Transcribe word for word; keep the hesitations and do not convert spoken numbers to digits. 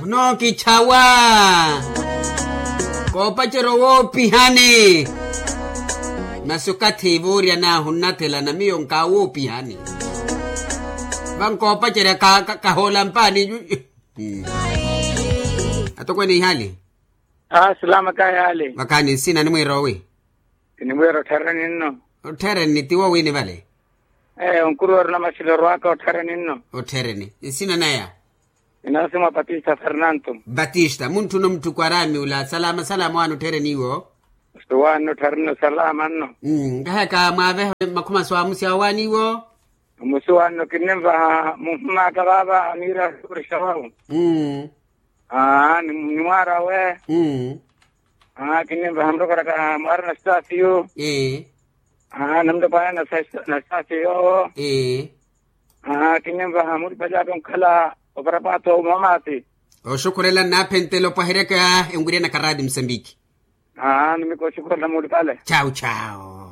Muno kichawa. Koopacerya owoopihani. Masi okathi vooryan'ahu nnathelana miyo nkaawoopihani. Vankoopacerya kahoola mpaani. Atokweene ihaali. Asilama kayaali. Vakhaani nsina nimwiira owi? Kinimwiira otthereni nno. Otthereni tiwo wiini vale? Ee onkuru weru namaxilero aka otthereni nno. Otthereni nsina naya? Inasimwa batista fernanto. Batista muntthuna omutthuku araami ula salama salama owaani otthereni iwo. Owaani otthereni salama nno. Nkaheka mwaaveha makhuma swaamusi awo owaani iwo. Omusi owaani nno kinimvaha muhumaka vaava aniira akurixawawu. Aa nimwaara we. Aa kinimvaha murokoraka mwaara na stasiyo. Aa namutopwaana na stasiyo. Aa kinimvaha muripali aka onkhala oparapato mamaati. Oxukhurela nnaaphentela opwaheryaka enwiryanaka raati musambiki. Aa nimikoxukhurela muripale. Chau chau.